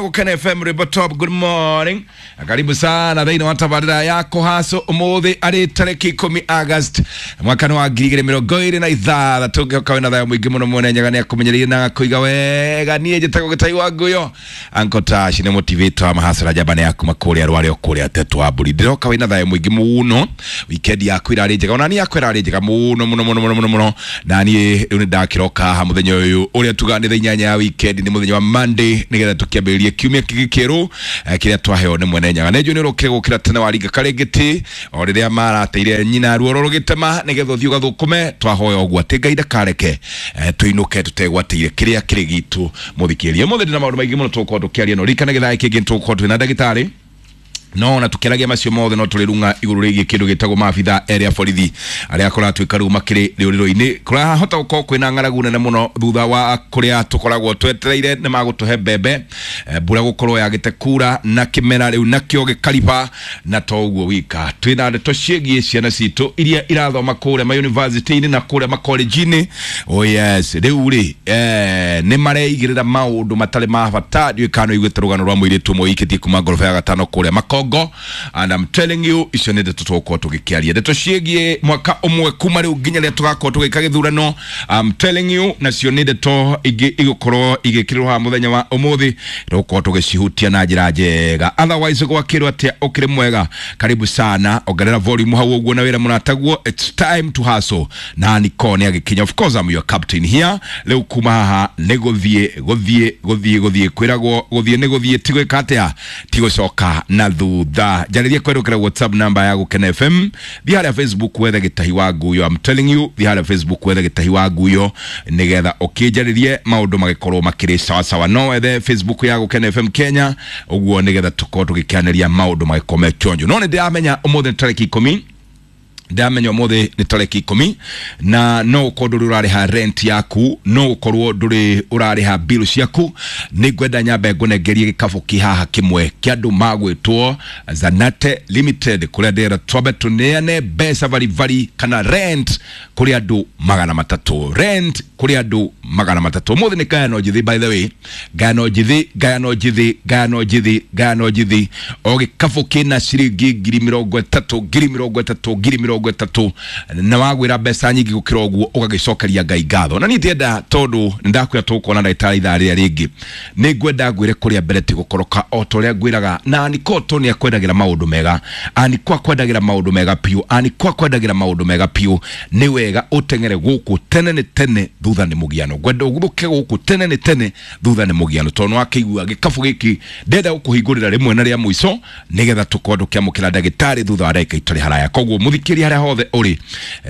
Gukena FM River Top, good morning. Karibu sana thĩinĩ wa tabarĩra ya kũhacũ ũmũthĩ arĩ tarĩki 10 August mwaka wa 2026. Ngĩhoka wĩna thayũ mũingĩ mũno. Mwene Nyaga nĩ akũmenyereire na agakũiga wega. Niĩ njĩtagwo Gĩtai wa Nguyo, Uncle Tash nĩ motivator wa mahacũra njamba yaku makũrĩa rware kũrĩa tetũ wa mbũri. Ndĩroka wĩna thayũ mũingĩ mũno, weekend yaku ĩrarĩ njega, ona niĩ yakwa ĩrarĩ njega mũno mũno mũno mũno mũno mũno. Na niĩ rĩu nĩ ndakĩroka haha mũthenya ũyũ ũrĩa tugaga nĩ thaa 8 ya weekend, nĩ mũthenya wa Monday, nĩgetha tũkĩambĩrĩrie kiumia kĩngĩ kĩerũ kĩrĩa twaheo nĩ mwene Nyaga. Nĩ njũĩ nĩ ũrokire gũkĩra tene waringa karĩngĩtĩ o rĩrĩa marateire nyina ruoro rũgĩtema nĩgetha ũthiĩ ũgathũkũme. Twahoya ũguo atĩ Ngai ndakareke tũinũke tũtegwatĩire kĩrĩa kĩrĩ gitũ. Mũthikĩrĩria, ũmũthĩ ndĩna maũndũ maingĩ mũno tũgũkorwo tũkĩaria, no ririkana gĩthaa kĩngĩ nĩtũgũkorwo twĩna ndagĩtarĩ, no ona tukĩaragia macio mothe no tũrĩ igũrũ rĩgiĩ kĩndũ gĩtagwo maabitha erĩ a borithi arĩa kũratuĩka rĩu makĩrĩ rĩũrĩro-inĩ. Kũrahota gũkorwo kwĩna ng'aragu nene mũno thutha wa kũrĩa tũkoragwo twetereire nĩ magũtũhe mbembe, mbura gũkorwo yagĩte kura na kĩmera rĩu nakĩo gĩkariba. Na to ũguo wika, twĩna ndeto ciĩgiĩ ciana citũ iria irathoma kũrĩa mayunivasĩtĩ-inĩ na kũrĩa makolenji-inĩ. Oh yes, rĩu rĩ nĩ mareigĩrĩra maũndũ matarĩ ma bata. Ndiũĩ kana nĩ ũiguĩte rũgano rwa mũirĩtu ũmwe ũikĩtie kuma ngoroba ya gatano kũrĩa Makongo, and I'm telling you, icio nĩ ndeto tũgũkorwo tũgĩkĩaria, ndeto ciĩgiĩ mwaka ũmwe kuma rĩu nginya rĩrĩa tũgakorwo tũgĩka gĩthurano. I'm telling you, nacio nĩ ndeto ingĩ igũkorwo igĩkĩrĩrwo haha mũthenya wa ũmũthĩ, tũgũkorwo tũgĩcihutia na njĩra njega. Otherwise gwakĩrwo atĩa? Ũkĩrĩ mwega? Karibu sana, ongerera volume hau ũguo na wĩra mũrataguo. It's time to hustle na Niko nĩ agĩkinya. Of course I'm your captain here. Rĩu kuma haha nĩ gũthiĩ gũthiĩ gũthiĩ gũthiĩ, kwĩragwo gũthiĩ nĩ gũthiĩ, ti gwĩka atĩa, ti gũcoka na thutha. Njarĩrie kwerũkĩra WhatsApp namba ya Gũkena FM. Thiĩ harĩa Facebook wethe Gĩtahi wa Nguyo. I'm telling you, thiĩ harĩa Facebook wethe Gĩtahi wa Nguyo nĩgetha ũkĩnjarĩrie maũndũ magĩkorwo makĩrĩ sawasawa. No wethe Facebook ya Gũkena FM Kenya ũguo nĩgetha tũkorwo tũgĩkĩanĩria maũndũ magĩkorwo me chonjo. No nĩ ndĩramenya ũmũthĩ nĩ tarĩki 10, ndamenya ũmũthĩ nĩ tarĩki 10, na no ũkorwo ndũrĩ ũrarĩha rent yaku, no ũkorwo ndũrĩ ũrarĩha bill ciaku. Nĩ ngwenda nyambe ngũnengerie gĩkabũ kĩ haha kĩmwe kĩa andũ magwĩtwo Zanate Limited, kũrĩa ndĩrenda twambe tũneane mbeca baribari kana rent kũrĩ andũ 300, rent kũrĩ andũ 300. Ũmũthĩ nĩ ngayano njĩthĩ, by the way, ngayano njĩthĩ, ngayano njĩthĩ, ngayano njĩthĩ, ngayano njĩthĩ. O gĩkabũ kĩna ciringi 30,000, 30,000, 30,000, na wagwĩra mbeca nyingĩ gũkĩra ũguo ũgagĩcokeria Ngai ngatho. Na niĩ ndienda, tondũ nĩ ndakwĩra tũgũkorwo na ndagĩtarĩ ithaa rĩrĩa rĩngĩ, nĩ ngwenda ngwĩre kũrĩa mbere ti gũkoroka o ta ũrĩa ngwĩraga. Na Aniko to nĩ akwendagĩra maũndũ mega, Aniko akwendagĩra maũndũ mega biũ, Aniko akwendagĩra maũndũ mega biũ. Nĩ wega ũteng'ere gũkũ tene nĩ tene, thutha nĩ mũgiano. Ngwenda ũguthũke gũkũ tene nĩ tene, thutha nĩ mũgiano, tondũ nĩ wakĩigua gĩkabũ gĩkĩ ndenda gũkũhingũrĩra rĩmwe na rĩa mũico nĩgetha tũkorwo tũkĩamũkĩra ndagĩtarĩ thutha wa ndagĩka itarĩ haraya. Koguo mũthikĩria, harĩa hothe ũrĩ,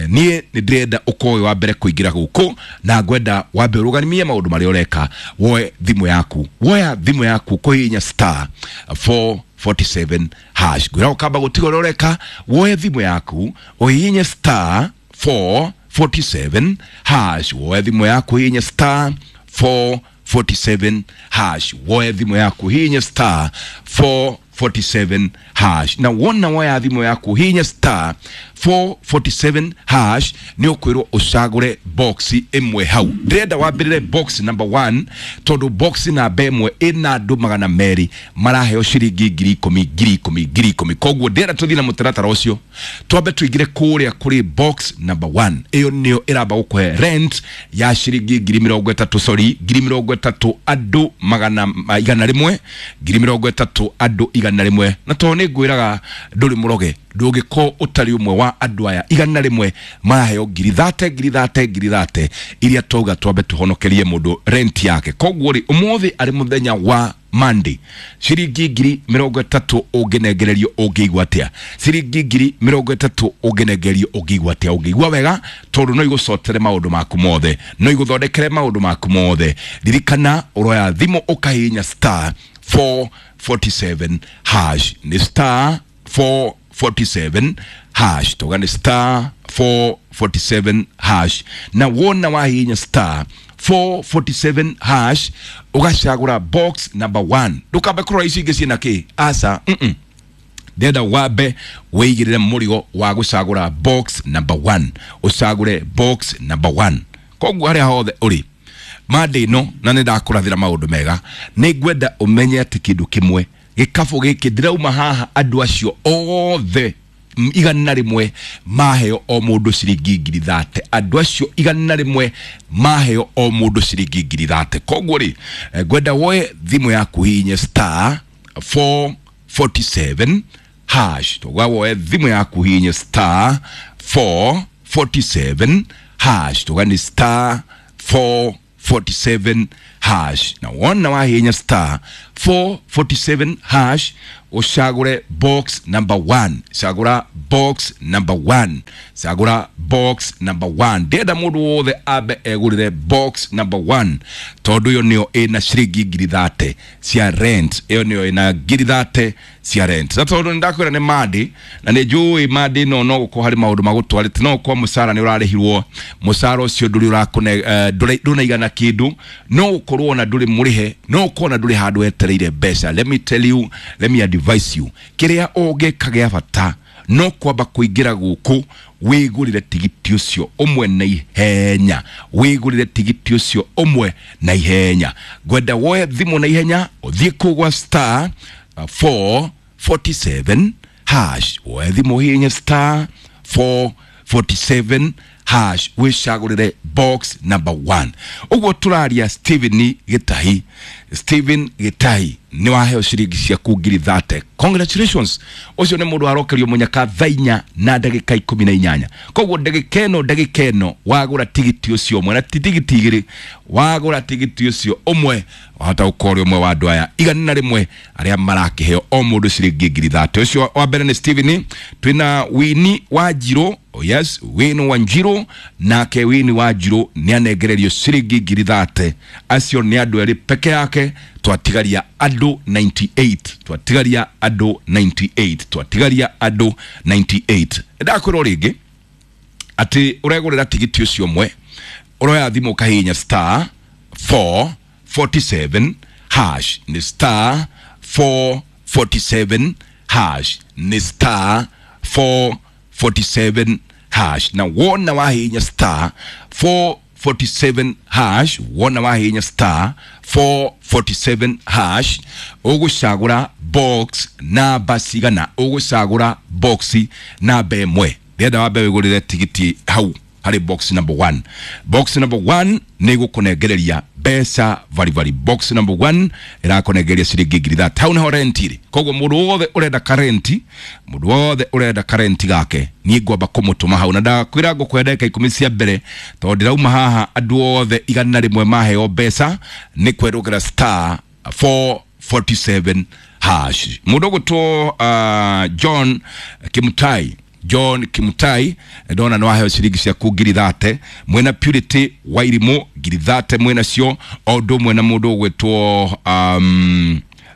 niĩ nĩ ndĩrenda ũkorwo wĩ wa mbere kũingĩra gũkũ, na ngwenda wambe ũrũgamie maũndũ marĩa ũreka, woe thimũ yaku, woya thimũ yaku kũhihinya star 447 hash. Ngwĩra ũkamba gũtiga ũrĩa ũreka, woe thimũ yaku ũhihinye star 447 hash, woe thimũ yaku ũhihinye star 447 hash, woe thimũ yaku hihinya star 447 hash. Na wona woya thimũ yaku hihinya star 447 hash, nĩ ũkwĩrwo ũcagũre box ĩmwe hau. Ndĩrenda wambĩrĩre box number 1, tondũ box namba ĩmwe ĩna andũ 200 maraheo ciringi 10,000, 10,000, 10,000. Koguo ndĩrenda tũthiĩ na mũtaratara ũcio, twambe tũingĩre kũrĩa kũrĩ box number 1. Ĩyo nĩyo ĩramba gũkũhe rent ya ciringi 30,000, sorry, 30,000, andũ 100, 30,000, andũ 100. Na tondũ nĩ ngwĩraga ndũrĩ mũroge, ndũngĩkorwo ũtarĩ ũmwe wa andũ aya 100 maraheo 30,000, 30,000, 30,000 iria twauga twambe tũhonokerie mũndũ rent yake. Koguo rĩ, ũmũthĩ arĩ mũthenya wa Monday, ciringi 30,000 ũngĩnengererio ũngĩigua atĩa? Ciringi 30,000 ũngĩnengererio ũngĩigua atĩa? Ũngĩigua wega, tondũ no igũcotere maũndũ maku mothe, no igũthondekere maũndũ maku mothe. Ririkana ũroya thimũ ũkahihinya star 447 hash, nĩ star 447 hash, tuga nĩ star 447 hash. Na wona wahihinya star 447 hash ũgacagũra box number 1. Ndũkambe kũrora icio ingĩ ciĩna kĩ, aca, ndenda wambe wĩigĩrĩre mũrigo wa gũcagũra box number 1, ũcagũre box number 1. Koguo harĩa hothe ũrĩ, Monday ĩno na nĩ ndakũrathĩra maũndũ mega. Nĩ ngwenda ũmenye atĩ kĩndũ kĩmwe gĩkabũ gĩkĩ ndĩrauma haha andũ acio othe 100 maheo o mũndũ ciringi 30,000. Andũ acio 100 maheo o mũndũ ciringi 30,000. Koguo rĩ, ngwenda woe thimũ yaku hihinye star 447 hash. Tũgwa woe thimũ yaku hihinye star 447 hash. Tũga ni star 447 hash. Na wona wahihinya star 447 hash ucagure box number 1. Cagura box number 1. Cagura box number 1. Ndĩrenda mũndũ wothe ambe egũrĩre box number 1 tondũ ĩyo nĩyo ĩna ciringi 30,000 cia rent. Ĩyo nĩyo ĩna 30,000 cia rent. Na tondũ nĩndakwĩra nĩ Monday na nĩ njũĩ Monday ĩno no gũkorwo harĩ maũndũ magũtwarĩte, no gũkorwo mũcara nĩ ũrarĩhirwo, mũcara ũcio ndũrĩ ũrakũne, ndũnaigana kĩndũ, no gũkorwo ona ndũrĩ mũrĩhe, no gũkorwo ona ndũrĩ handũ wetereire mbeca. Let me tell you, let me advise you, kĩrĩa ũngĩka gĩa bata no kwamba kũingĩra gũkũ wĩgũrĩre tigiti ũcio ũmwe na ihenya. Wĩgũrĩre tigiti ũcio ũmwe na ihenya. Ngwenda woe thimũ na ihenya ũthiĩ kũu gwa star 447 hash. Woe thimũ hihinye star 447 hash wĩcagũrĩre box number 1. Ũguo tũraria Stephen Gĩtahi. Stephen Gĩtahi nĩ waheo ciringi ciaku 30,000. Congratulations. Ũcio nĩ mũndũ warokerio mũnyaka thaa inya na ndagĩka 18. Koguo ndagĩka ĩno wagũra tigiti ũcio ũmwe na ti tigiti igĩrĩ, wagũra tigiti ũcio ũmwe wahota gũkorwo ũrĩ ũmwe wa andũ aya 100 arĩa marakĩheo o mũndũ ciringi 30,000. Ũcio wa mbere nĩ Stephen. Twĩna Winnie Wanjirũ. Oh yes, Winnie Wanjirũ. Nake Winnie Wanjirũ nĩ anengererio ciringi 30,000. Acio nĩ andũ erĩ peke yake. Twatigaria andũ 98. Twatigaria andũ 98. Twatigaria andũ 98. Ndakwĩra rĩngĩ atĩ ũregũrĩra tigiti ũcio ũmwe, ũroya thimũ ũkahihinya star 447 hash. Nĩ star 447 hash. Nĩ star 447 hash. Na wona wahihinya star 447 hash, wona wahihinya star 447 hash, ũgũcagũra box namba cigana? Ũgũcagũra box namba ĩmwe. Ndĩrenda wambe wĩgũrĩre tigiti hau harĩ box number 1. Box number 1 nĩ gũkũnengereria mbeca varibari. Box number 1 ĩrakũnengereria ciringi 30,000. Hau nĩho rent ĩrĩ. Koguo mũndũ wothe ũrenda karenti, mũndũ wothe ũrenda karenti gake, niĩ ngwamba kũmũtũma hau. Na ndakwĩra ngũkũhe ndagĩka 10 cia mbere tondũ ndĩrauma haha andũ othe 100 maheo mbeca nĩ kwerũkĩra star 447 hash. Mũndũ ũgũtwo John Kimutai. John Kimutai ndona no aheo ciringi ciaku 30,000. Mwena Purity Wairimu 30,000 mwena cio. O ũndũ ũmwe na mũndũ ũgwĩtwo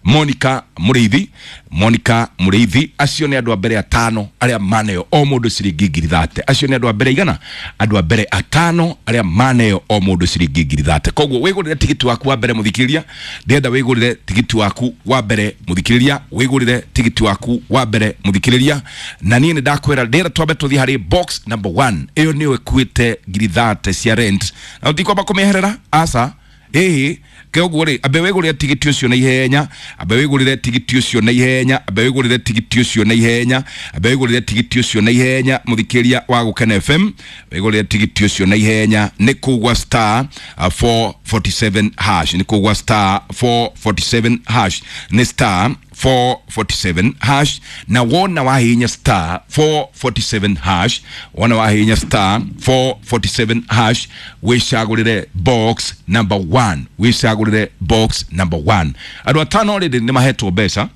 Monica Mũrĩithi. Monica Mũrĩithi. Acio nĩ andũ a mbere atano arĩa maneo o mũndũ ciringi 30,000. Acio nĩ andũ a mbere igana, andũ a mbere atano arĩa maneo o mũndũ ciringi 30,000. Koguo wĩgũrĩre tigiti waku wa mbere mũthikĩrĩria. Ndĩrenda wĩgũrĩre tigiti waku wa mbere mũthikĩrĩria. Wĩgũrĩre tigiti waku wa mbere mũthikĩrĩria. Na niĩ nĩ ndakwĩra ndĩrenda twambe tũthiĩ harĩ box number 1. Ĩyo nĩyo ĩkuĩte 30,000 cia rent. Na ũtikwamba kũmĩeherera aca. Ĩhĩ, koguo rĩ, ambe wĩgũrĩre tigiti ũcio na ihenya, ambe wĩgũrĩre tigiti ũcio na ihenya, ambe wĩgũrĩre tigiti ũcio na ihenya, ambe wĩgũrĩre tigiti ũcio na ihenya mũthikĩrĩria wa Gũkena FM, wĩgũrĩre tigiti ũcio na ihenya nĩ kũgwa star 447 hash, nĩ kũgwa star 447 hash, nĩ star 447 hash. Na wona wahihinya star 447 hash, wona wahihinya star 447 hash, wĩcagũrĩre box number 1. Wĩcagũrĩre box number 1. Andũ atano already nĩ mahetwo mbeca.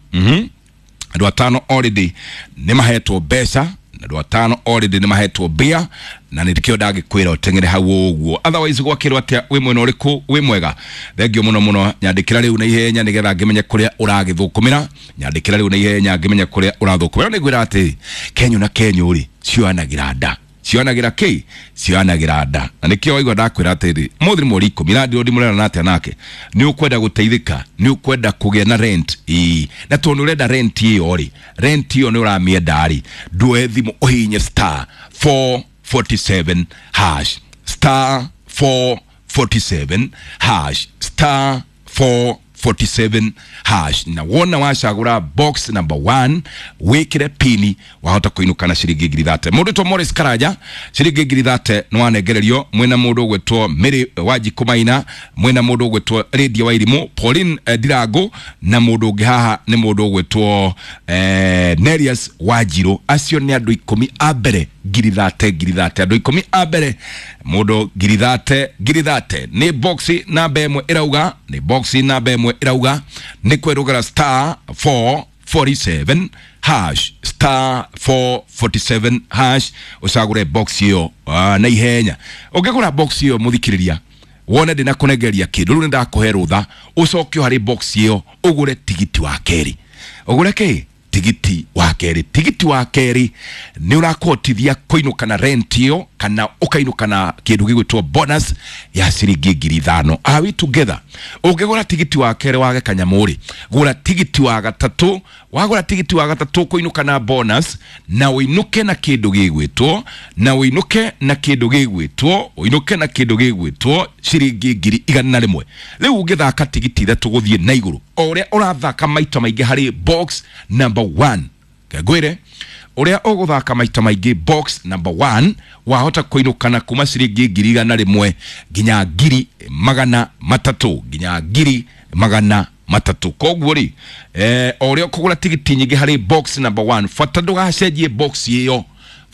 Andũ atano already nĩ mahetwo mbeca. Andũ atano already nĩ mahetwo mbia na nĩkĩo ndangĩkwĩra ũteng'ere hau ũguo. Otherwise gwakĩrwo atĩa wĩ mwena ũrĩkũ wĩ mwega? Thengio mũno mũno. Nyandĩkĩra rĩu na ihenya nĩgetha ngĩmenye kũrĩa ũragĩthũkũmĩra. Nyandĩkĩra rĩu na ihenya ngĩmenye kũrĩa ũrathũkũmĩra. Nĩ ngwĩra atĩ Kenyũ na Kenyũ rĩ cioyanagĩra nda. Cioyanagĩra kĩ? Cioyanagĩra nda. Na nĩkĩo waigua ndakwĩra atĩrĩ, mũthĩ nĩ mweri 10 na ndĩrona ndimũrera atĩa nake. Nĩ ũkwenda gũteithĩka, nĩ ũkwenda kũgĩa na rent. Ĩĩ, na tondũ nĩ ũrenda rent ĩyo rĩ, rent ĩyo nĩ ũramĩenda rĩ, ndũe thimũ ũhihinye star 447 hash. Star 4 447 hash, star 447 hash, na wona wacagũra box number 1 wĩkĩre pini, wahota kũinũka na ciringi 30,000. Mũndũ to Morris Karanja ciringi 30,000 nĩ wanengererio, mwĩna mũndũ ũgwĩtwo Mary Wanjikũ Maina, mwĩna mũndũ ũgwĩtwo Lydia Wairimũ, Pauline Ndirango, na mũndũ ũngĩ haha nĩ mũndũ ũgwĩtwo Nerias Wanjirũ. Acio nĩ andũ 10 a mbere 30,000 30,000, andũ 10 a mbere mũndũ 30,000 30,000. Nĩ box namba 1 ĩrauga, nĩ box namba 1 ĩrauga nĩ kwerũgera star 447 hash, star 447 hash, ũcagũre box ĩyo na ihenya. Ũngĩgũra box ĩyo mũthikĩrĩria, wone ndĩna kũnengeria kĩndũ, rĩu nĩ ndakũhe rũtha ũcoke harĩ box ĩyo ũgũre tigiti wa kerĩ. Ũgũre kĩ? Tigiti wa kerĩ. Tigiti wa kerĩ nĩ ũrakũhotithia kũinũka na rent ĩyo kana ũkainũka na kĩndũ gĩgwĩtwo bonus ya ciringi 5,000. Are we together? Ũngĩgũra tigiti wa kerĩ wage kanyamũ rĩ, gũra tigiti wa gatatũ. Wagũra tigiti wa gatatũ kũinũka na bonus na ũinũke na kĩndũ gĩgwĩtwo, na ũinũke na kĩndũ gĩgwĩtwo, ũinũke na kĩndũ gĩgwĩtwo ciringi 100,000. Rĩu ũngĩthaka tigiti 3 gũthiĩ na igũrũ, o ũrĩa ũrathaka maita maingĩ harĩ box number 1, ngwĩre ũrĩa ũgũthaka maita maingĩ box number 1, wahota kũinũkana kuma ciringi 100,000 nginya 300,000, nginya 300,000. Koguo rĩ, o ũrĩa ũkũgũra tigiti nyingĩ harĩ box number 1, bata ndũgacenjie box ĩyo,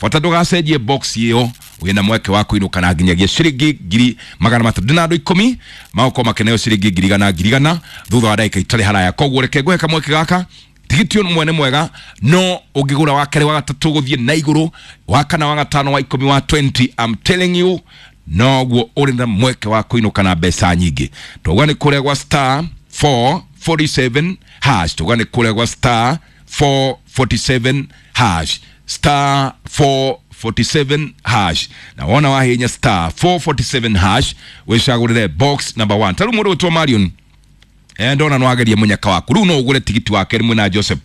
bata ndũgacenjie box ĩyo, wĩna mweke wa kũinũka na nginyagia ciringi 300,000. Ndĩna andũ 10 magũkorwo makĩneo ciringi 100,000 100,000 thutha wa ndagĩka itarĩ haraya. Koguo reke ngũhe kamweke gaka. Tigiti ũyũ mwene mwega, no ũngĩgũra wa kerĩ wa gatatũ gũthiĩ na igũrũ, wa kana wa gatano wa 10 wa 20, I'm telling you, noguo ũrĩ na mweke wa kũinũka na mbeca nyingĩ. Tauga nĩ kũrĩa gwa star 447 hash, tauga nĩ kũrĩa gwa star 447 hash, star 447 hash, na wona wahinya star 447 hash wĩcagũrĩre box number 1. Ta rĩu mũndũ ũgwĩtwo Marion, ndona no agerie munyaka waku, riu no ugure tigiti wa kerĩ mwena Joseph.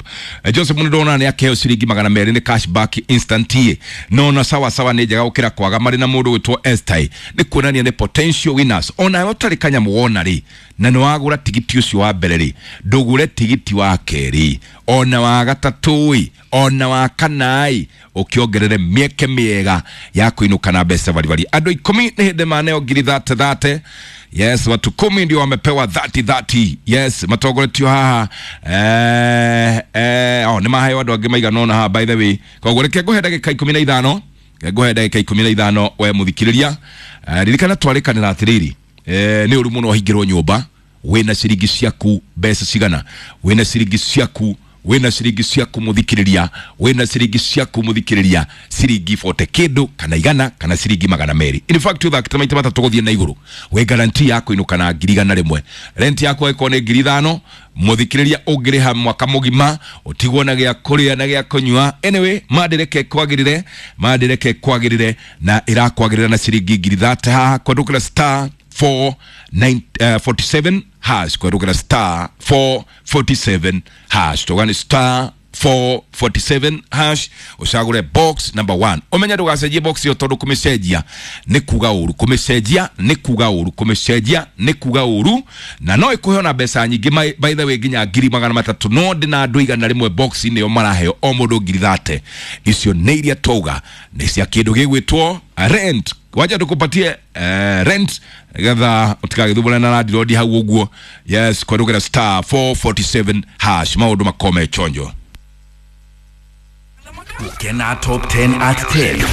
Joseph nĩ ndona nĩ akeo ciringi 200 nĩ cashback instant ye, no na sawa sawa nĩ njega gũkĩra kwaga. Marĩ na mũndũ wĩtwo Esther, nĩ kuonania nĩ potential winners. Ona ũtarĩ kanyamũ wona rĩ, na nĩ wagũra tigiti ũcio wa mbere rĩ, ndũgũre tigiti wa kerĩ ona wa gatatũ ĩ, ona wa kana ĩ, ũkĩongerere mĩeke mĩega ya kũinũka na mbeca baribari. Andũ 10 nĩ hĩndĩ maneo 30,000 30. Yes, watu 10 ndio wamepewa 30 30. Yes, matongoretio haha nĩ maheo andũ angĩ maigana ũna haha by the way. Koguo reke ngũhe ndagĩka 15, ngũhe ndagĩka 15 we mũthikĩrĩria. Ririkana twarĩkanĩra atĩrĩrĩ, nĩ ũru mũno wahingĩrwo nyũmba wĩna ciringi ciaku mbeca cigana, wĩna ciringi ciaku, wĩna ciringi ciaku mũthikĩrĩria, wĩna ciringi ciaku mũthikĩrĩria, ciringi 40 kĩndũ kana 100 kana ciringi 200. In fact ũthakĩte maita matatũ gũthiĩ na igũrũ, wĩ guarantee ya kũinũka na 100,000. Rent yaku ĩkorwo nĩ 5,000 mũthikĩrĩria, ũngĩrĩha mwaka mũgima ũtigwo na gĩa kũrĩa na gĩa kũnyua. Anyway, mandireke kwagĩrĩre, mandireke kwagĩrĩre, na ĩrakwagĩrĩra na ciringi 30,000 haha kwandũkĩra star 447 hash, kwerũkĩra star 447 hash, tũgani star 447 hash, ũcagũre box number 1. Ũmenye ndũgacenjie box ĩyo tondũ kũmĩcenjia nĩ kuga ũru, kũmĩcenjia nĩ kuga ũru, kũmĩcenjia nĩ kuga ũru, na no ĩkũhe ona mbeca nyingĩ by the way nginya 300,000. No ndĩna andũ 100 box-inĩ ĩyo maraheo o mũndũ 30,000. Icio nĩ iria twauga nĩ cia kĩndũ gĩgwĩtwo rent. Wacha tukupatie rent getha utikagithumbũrane na landlord hau ũguo. Yes, kwerũkĩra star 447 hash, maũndũ makome chonjo. Kena Top 10 at 10.